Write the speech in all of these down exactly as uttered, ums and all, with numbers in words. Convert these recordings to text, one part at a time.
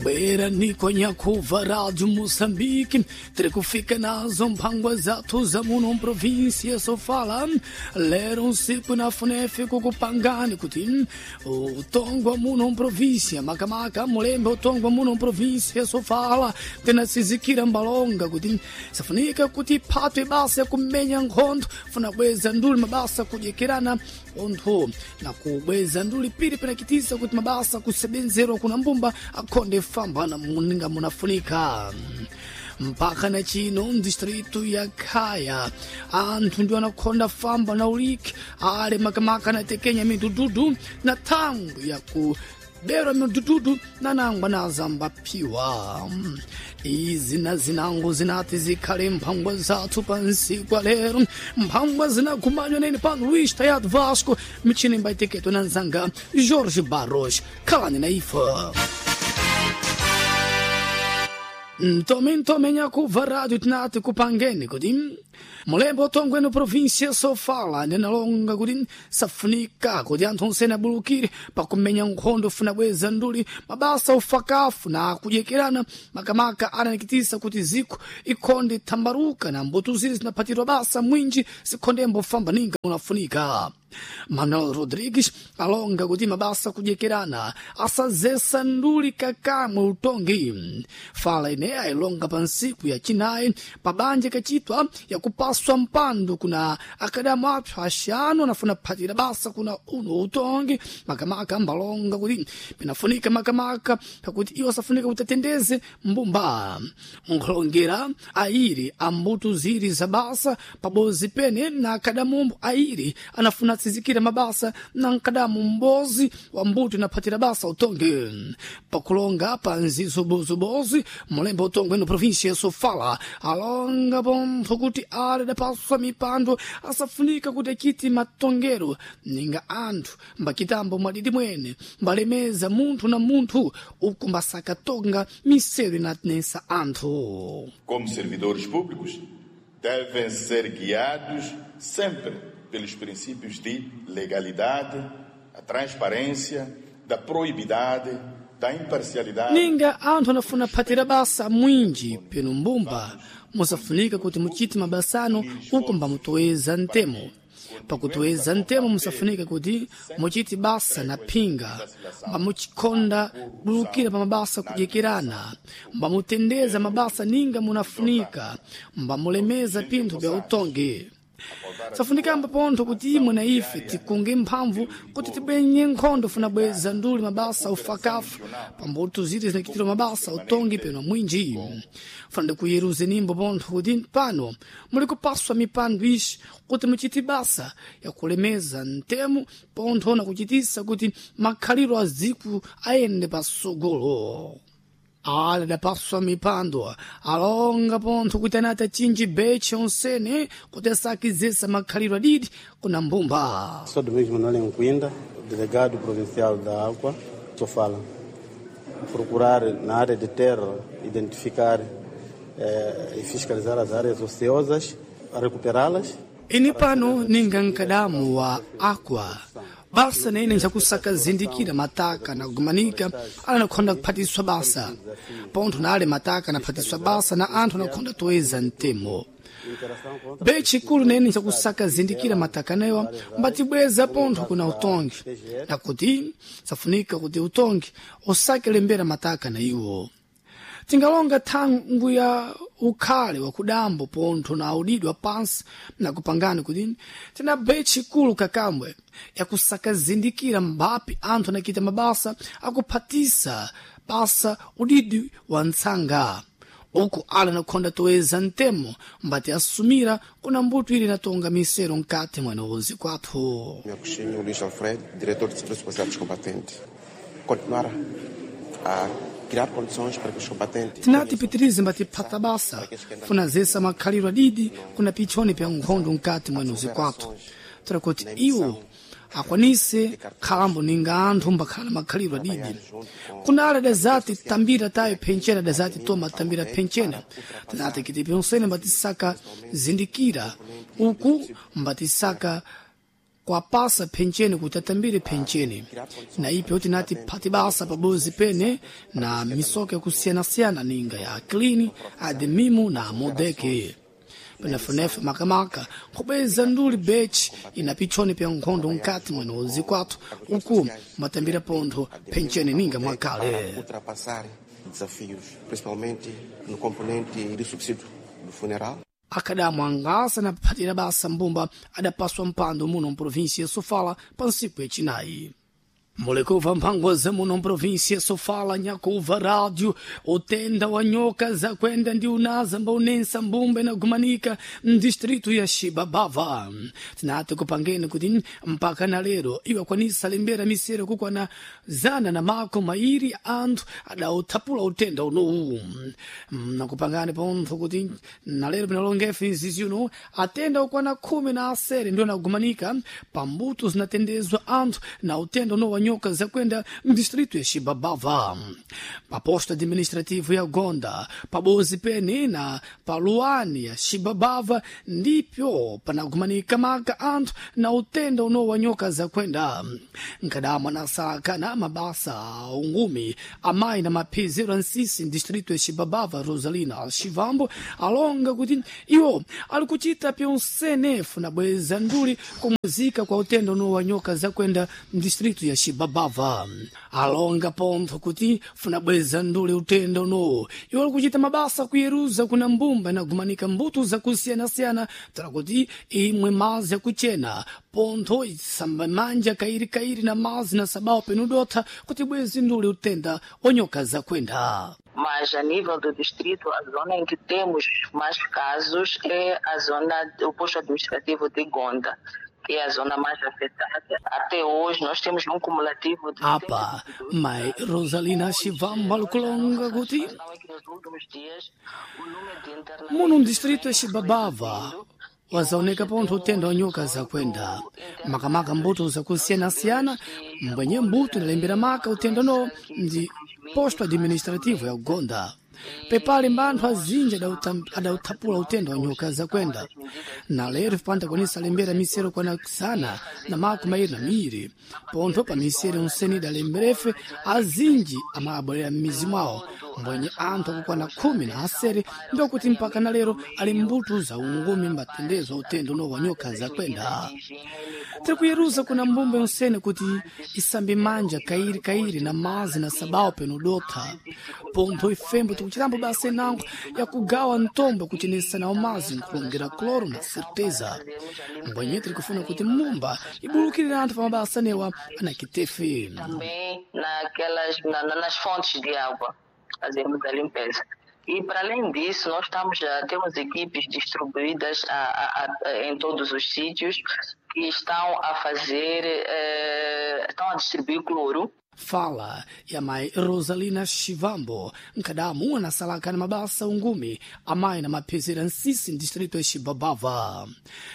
Bwera niko nyakuva Rádio Moçambique, tiri kufika nazo mphangwa zathu za muno província Sofala. Lero usiku na FUNEF kukupangani kuti utongwa muno província makamaka mulembe utongwa muno província Sofala tinasizikira mbalonga kuti safunika kuti phatwe basa yakumenya nkhondo funa bweza nduli mabasa kudyekirana onthu na kubweza nduli pili pinakitisa kuti mabasa kusebenzerwa kuna mbumba akhonde famba na muninga munafunika. Mpaka na chino mdistritu ya Khaya anthu ndi anakhonda famba na uliki ale makamaka na tekenya midududu na thangu ya ku bera midududu na nangwa na zambaphiwa. Izi na zinango zinati zikhale mphangwa zathu pansi kwa lero, mphangwa zinakumanywa nene pano Luís Tayado Vasco, michini mbaiteketo na nzanga Jorge Barros. Khalani na ife. Ntome ntome nyakuva rádio tinati kupangeni kuti mulembo utongweno província Sofala ndinalonga kuti safunika kuti anthu onsene abulukire pakumenya nkhondo funa bweza nduli mabasa ufakafu na kudyekerana makamaka ananikitisa kuti ziko ikhonde thambaruka na mbuto zili zinaphatirwa basa mwinji zikhondembo famba ninga unafunika. Manuel Rodrigues alonga kuti mabasa kudyekerana asazesa nduli kakamwe utongi. Fala ineya ilonga pa nsiku ya chinayi pabanja kachitwa yakupaswa mpando kuna akadamu apso axanu anafuna phatira basa kuna uno utongi makamaka mbalonga kuti pinafunika makamaka pakuti iwo asafunika kuti atendeze mbumba nkhulongera ayiri ambuto ziri za basa pabozi pene na akadamumbo ayiri anafuna atsizikira mabasa na nkadamu mbozi wa mbuto inaphatira basa utongi. Pakulonga pa nzizobozobozi mulembo utongwe no província ya Sofala alonga pompho kuti ale dapaswa mipando asafunika kuti achiti matongero ninga anthu mbakitambo mwadidi mwene mbalemeza munthu na munthu uku mbasakatonga miseru inatinesa anthu. Como servidores públicos, devem ser guiados sempre pelos princípios de legalidade, a transparência, da proibidade, da imparcialidade. Ninga anthu anafuna phatira basa mwinji peno mbumba musafunika kuti muchite mabasano uku mbamutoweza ntemo. Pakutoeza ntemo musafunika kuti muchite basa na phinga, mbamuchikhonda bulukira pa mabasa kudyekerana, mbamutendeza mabasa ninga munafunika, mbamulemeza pinthu bya utongi. Safunikamba pontho kuti imwe na ife tikunge mphamvu kuti tibwenye nkhondo funa bweza nduli mabasa ufakafu pambuto ziti zinakitira mabasa utongi peno mwinji. Funa ndikuyeruze nimbo pontho kuti pano muli kupaswa mipando ixi kuti muchite basa yakulemeza ntemo pontho na kuchitisa kuti makhaliro a ziku ayende pasogolo. Ale dapaswa mipando alonga pontho kuti anati achinji beche onsene kuti asakizesa makhaliro adidi kuna mbumba. Sou Domingos Manuel Nkuinda, delegado provincial da Água, Sofala. Procurar na área de terra, identificar eh, e fiscalizar as áreas ociosas, recuperá-las. Ini pano ninga nkadamu wa Aqua basa nene nchakusaka zindikira mataka na kugumanika ala nakhonda kuphatiswa basa pontho na ale mataka naphatiswa basa na anthu anakhonda toeza ntemo bechikulu nene nchakusaka zindikira mataka newa mbatibweza pontho kuna utongi nakuti safunika kuti utongi usake lembera mataka na iwo. Tingalonga thangu ya ukhale wakudambo pontho na audidwa pansi na kupangani kuti tina bechikulu kakambwe yakusakazindikira mbapi anthu anakita mabasa akuphatisa basa udidi wa ntsanga uku ala nakhonda toeza ntemo mbati asumira kuna mbuto ili natonga misero mkati mwenozi kwathu. Agostinho Luís Alfredo, diretor de Serviço Policial dos Combatentes. Continuar a criar condições para que os combatentes Tinati pitirize mbatiphata basa funazesa makhaliro adidi kuna pichoni pya nkhondo mkati mwenozi kwathu tora kuti iwo akwanise khalambo ninga anthu mbakhala makhaliro adidi. Kuna ale dazati tambira tayo phenchena dazati toma tambira phenchena tinati kiti pyonsene mbatisaka zindikira uku mbatisaka Kwapasa phencheni kuti atambire phencheni na ipyo tinati phati basa pabozi pene na misoka yakusiyanasiyana ninga ya klini ademimu na modeke penefunefu makamaka kubweza nduli bechi ina pichoni pya nkhondo nkati mwene zikwathu uku matambira pontho phencheni ninga mwakale. Ultrapassar desafios, principalmente no componente do subsídio do funeral. Akadamu angasa na kuphatira basa mbumba adapaswa mpando muno mprovinsia ya Sofala pa ntsiku yacinayi. Mulekuva mphango za muno mprovinsia ya Sofala, nyakuva rádio utenda wa nyoka zakwenda ndi unaza mbaunensa mbumba inagumanika mdistritu ya Xibabava. Tinati kupangeni kuti mpaka na lero iwakwanisa lembera misero kukwana zana na mako mairi anthu adauthapula utenda unowu. Nakupangani pontho kuti na lero pinalongefe izizi uno atenda okwana khumi na asere ndio anagumanika pambuto zinatendezwa anthu na utenda uno wa nyoka zakwenda mdistrito ya Xibabava, paposto administrativo ya Gonda, pabozi pene na paluani ya Xibabava ndipyo panagumanika maka anthu na utenda uno wa nyoka zakwenda. Nkadamwa na saka na mabasa ungumi amayi na maphizero ansisi mdistrito ya Xibabava Rosalina Xivambo alonga kuti iwo ali kuchita pyonsenefu na bweza nduli kumuzika kwa utenda uno wa nyoka zakwenda mdistrito ya Xibabava. Alonga pontho kuti funa bweza nduli utenda uno iwo ali kuchita mabasa kuyeruza kuna mbumba inagumanika mbuto zakusiyanasiyana tala kuti imwe mazi akuchena pontho isamba manja kairi kairi na mazi na sabao penudotha kuti bwezi nduli utenda onyoka zakwenda. Mas a nível do distrito, a zona em que temos mais casos é a zona, o posto administrativo de Gonda, que é a zona mais afetada. Até hoje nós temos um cumulativo de Apa, mai Rosalina Xivamba lukulonga kuti muno mdistrito ya Xibabava wazaoneka pontho utenda wa nyoka zakwenda makamaka mbuto zakusiyanasiyana mbwenye mbuto inalembera maka utenda no ndi posto administrativo ya Gonda. Pepali mbanthu azinji adauthapula utenda wa nyoka zakwenda na lero panda kwanisa lembera misero kwana sana na mako mairi na miri pontho pa misero onsene idalemberefe azinji amabwerera m'mizi mwawo mbwenye anthu akukwana khumi na asere ndiokuti mpaka na lero ali mbuto za ungumi mbatendezwa utenda uno wa nyoka zakwenda. Tiri kuyeruza kuna mbumba yonsene kuti isambe manja kairi kairi na mazi na sabao penudotha pontho ifembo tikuchitambo basa inango yakugawa ntombo kuchenesa nawo mazi nkulongera cloro na certeza mbwenye tiri kufuna kuti mumba ibulukirire anthu pa mabasa newa anakitefe. Também naquelas, na, nas fontes de água fazemos a limpeza. E, para além disso, nós estamos, já temos equipes distribuídas a, a, a, em todos os sítios que estão a fazer, eh, estão a distribuir cloro. Fala ya mai Rosalina Xivambo nkadamu anasalaka na mabasa ungumi amayi na maphezera nsisi mdistrito ya Xibabava.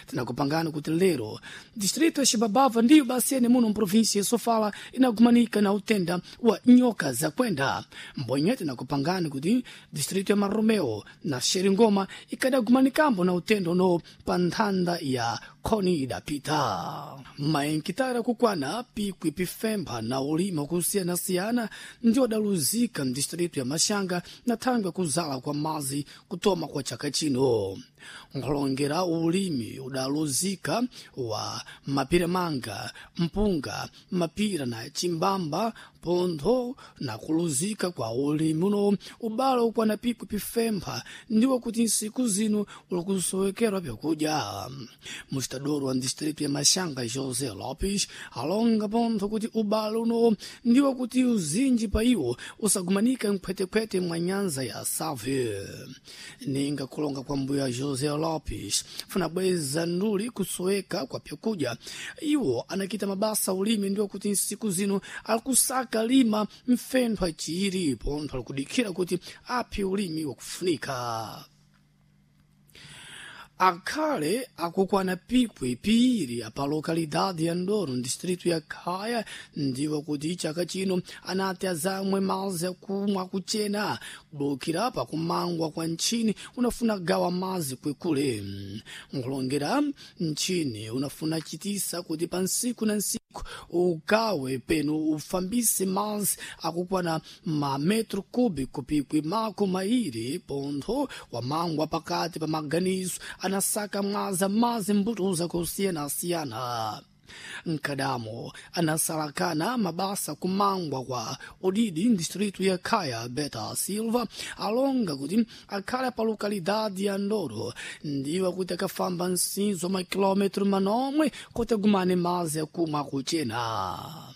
Tinakupangani kuti lero distrito ya Xibabava ndiyo basi ene muno mprovinsia ya Sofala inagumanika na utenda wa nyoka zakwenda. Mbwenye tinakupangani kuti distrito ya Maromeo na Xeringoma ikadagumanikambo na utenda uno pa nthanda ya khoni idapita. Maenkitara kukwana pikwi pifempha na ulima kusiyana-siyana ndio adaluzika mdistritu ya Maxanga na thangwe kuzala kwa mazi kutoma kwa chaka chino. Nkhulongera ulimi udaluzika wa mapira manga, mpunga, mapira na chimbamba pontho na kuluzika kwa ulimi uno ubalo ukwana pikwi pifempha ndiwo kuti nsiku zino ulikusowekerwa pyakudya. Mustador wa distritu ya Maxanga José Lopes alonga pontho kuti ubalo uno ndiwo kuti uzinji pa iwo usagumanika mkhwetekhwete mwa nyanza ya Save. Ninga kulonga kwa mbuya José Lopes funa bweza nduli kusoweka kwa pyakudya iwo anakita mabasa ulimi ndiwo kuti nsiku zino alikusaka lima mfentho achiiri pontho alikudikhira kuti aphe ulimi wakufunika. Akhale akukwana pikwi piiri pa lokalidade ya Ndoro distrito ya Khaya, ndiwo kuti chaka chino anati azamwe mazi akumwa akuchena kubukira pakumangwa kwa ntchini unafuna gawa mazi kwekule. Nkulongera ntchini unafuna chitisa kuti pa nsiku na nsiku ugawe penu ufambise mazi akukwana mametro cúbico pikwi mako mairi pontho wamangwa pakati pa maganizo anasaka mwaza mazi mbutuza kusiyana-siyana. Nkadamo anasalakana mabasa kumangwa kwa odidi distrito ya Khaya Beta Silva alonga kuti akhale pa lokalidade ya Ndoro, ndiwo kuti akafamba nsinzo makilometro manomwe kuti agumane mazi akumwa akuchena.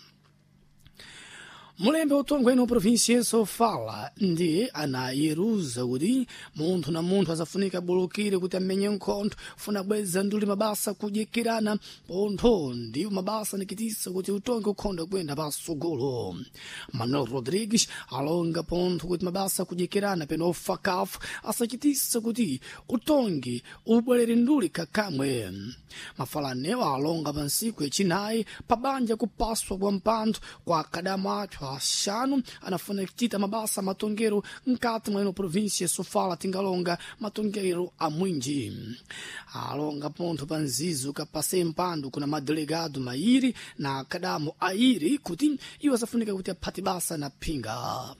Mulembe utongwene província Sofala ndi anayeruza kuti munthu na munthu asafunika bulukire kuti amenye nkhondo funa bweza nduli mabasa kudyekirana pontho ndiwo mabasa nikitisa kuti utonge ukhondo kuyenda pasogolo. Manuel Rodrigues alonga pontho kuti mabasa kudyekirana peno ofakafu asachitisa kuti utongi ubwerere nduli kakamwe. Mafalanewa alonga pa nsiku yachinayi pabanja kupaswa kwa mpantho kwa akadamu athu axanu anafuna kuchita mabasa matongero mkati mwa ino província Sofala tingalonga matongero a mwinji. Alonga pontho pa nzizo kapase mpando kuna madelegado mairi na akadamu airi kuti iwo asafunika kuti aphate basa na phinga.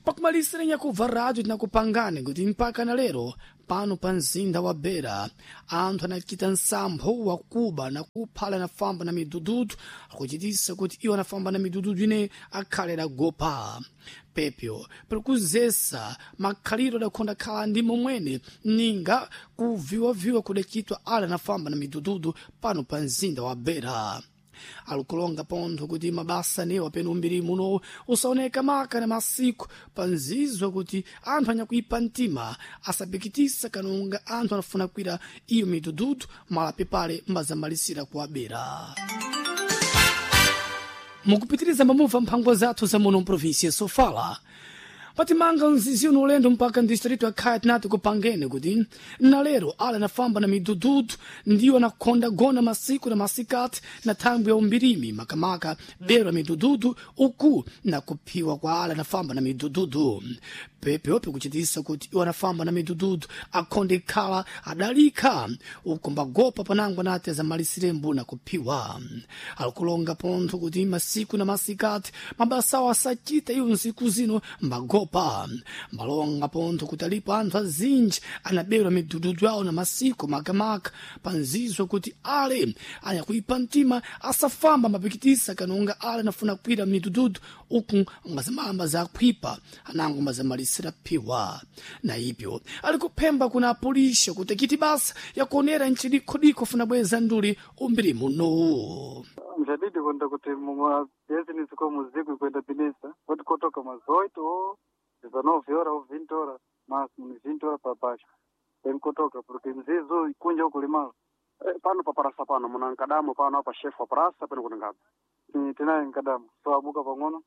Pakumalisira nyakubva rádio tinakupangani kuti mpaka na lero pano pa mzinda wa Beira anthu anachita nsampho wakuba na kuphala anafamba na midududu akuchitisa kuti iwo anafamba na midududu ine akhale adagopa pepyo pali makhaliro adakhonda khala ndi momwene ninga kuviwaviwa kudachitwa ale anafamba na midududu pano pa mzinda wa Beira. Alikulonga pontho kuti mabasa newa peno umbiri muno usaoneka maka na masiku panzizwa kuti anthu anyakuipa mtima asapikitisa kanonga anthu anafuna kwira iyo midududu malapi pale mbazamalisira kuwabera. Mukupitiriza mamuva mphango zathu za muno mprovinsia Sofala patimanga mzizi uno ulendo mpaka ndistrito ya Khaya tinati kupangene kuti nalero ale anafamba na midududu ndiwo anakhonda gona masiku na masikati na thangwi ya umbirimi makamaka bero ya midududu uku na kuphiwa kwa ale anafamba na midududu pepeope kuchitisa kuti iwo anafamba na midududu akhonde khala adalikha uku mbagopa panango anati azamalisire mbuna kuphiwa. Alikulonga pontho kuti masiku na masikati mabasawo asachita iwo nsiku zino mbagopa. Malonga pontho kuti alipo anthu azinji anaberwa midududu yawo na masiku makamaka panzizwa kuti ale anyakuipa mtima asafamba mapikitisa kanonga ale anafuna kwira midududu uku ngazimamba zakhwipa anango mazamalisira phiwa. Na ipyo ali kuphemba kuna apolisi kuti kiti basa yakuonera nchidikhodikho funa bweza nduli umbiri muno. Mjadidi kwenda kuti mumabhizinesi ko muziku kwenda binesa kuti kotoka mazoito o dezenove horas ou vinte horas máximo vinte horas para baixo tem kotoka porque mzizo ikunja ukulimala. Pano pa parasa pano muna nkadamo pano apa chef wa parasa pano kuti ngapi tinaye nkadamo so abuka pang'ono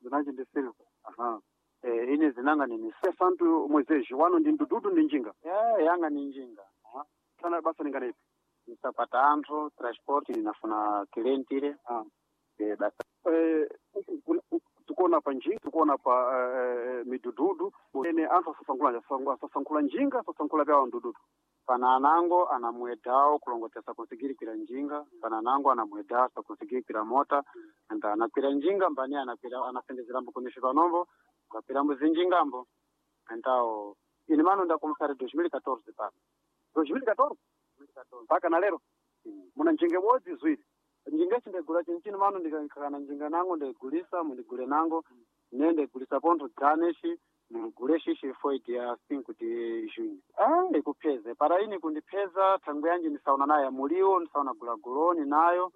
zinachi ndi silver. Aha. Eh, ine zinanga nini santu mwezezhi wano ndi ndududu ndi njinga. Yeah, yanga ni njinga. Sana basa ninganepi nisapata anthu transport ninafuna clientile. Ah. Eh, basa eh, tikuona pa njinga tikuona pa eh, midududu ene anthu asasankhula asasankhula njinga asasankhula pyawo ndududu. Pana anango anamwedhawo kulongotesa kusigirikwira njinga, pana anango anamwedha asakusigirikwira mota and anakwira njinga mbani anakwira anasendezera kunisvi panombo ngakwira mbuzinjingambo antawo ini mano ndakomusari dois mil e catorze pano dois mil e catorze mpaka na lero muna njinga ibodzi ziwiri njinga chindagula chinchini mano ndikakana njinga nango ndaigulisa mundigule nango ne ndaigulisa pontho dzane-xi mundigule xixi foi dia cinco de junho. Ah, ikupheze para ini kundipheza thangwe yanji ndisaona nayo muliwo ndisaona gulaguloni nayo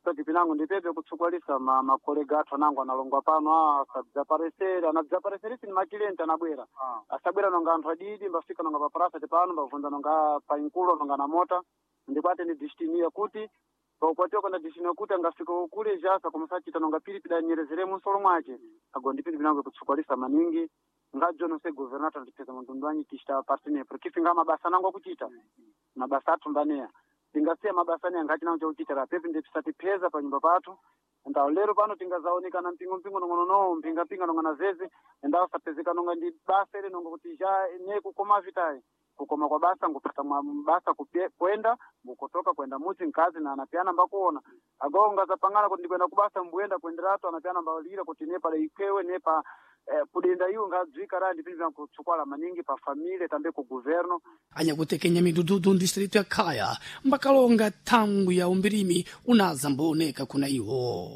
soti pinango ndipepe kutsukwalisa ma, makolega athu anango analongwa pano ah, asabzaparesere anabzapareserisi ni makilenti anabwera. Ah. Asabwera nonga anthu adidi mbafika nonga paparasa tipano mbavunda nonga painkulo nonga na mota ndikwate ni destiny yakuti paukwatiwa kana destiny yakuti angafika kule jasa kumusachita nonga pilipili anyerezere munsolo mwace ago ndi pilipili nango ikutsukwalisa maningi. Ngajono se governo atandipeza mtundu wanyi tichita partner, porque finga mabasa nango akuchita mabasa athu mbaneya, tingasiya mabasa neya ngati nawo chakuchita rapepi ndipisatipeza pa nyumba pathu. Ndawo lero pano tingazaonekana mpingo mpingo nongono no mpinga mpinga nongana zeze, ndawo sapezeka nonga ndi basa ile nonga kuti ja ne kukoma vitayi kukoma kwa basa ngupata mwa basa kupye, kwenda ngukotoka kwenda muti nkazi na anapiana mbakuona ago ngazapangana kuti ndikwenda kubasa mbuyenda kuenderatu anapiana mbalira kuti nepa leikewe nepa eh, kudenda iwo ngadzwika ra ndipindi vyankutsukala maningi pa família tambe ku governo. Anyakutekenya midududu ndistrito ya Khaya mbakalonga thangwi ya umbirimi unaza mbooneka kuna iwo.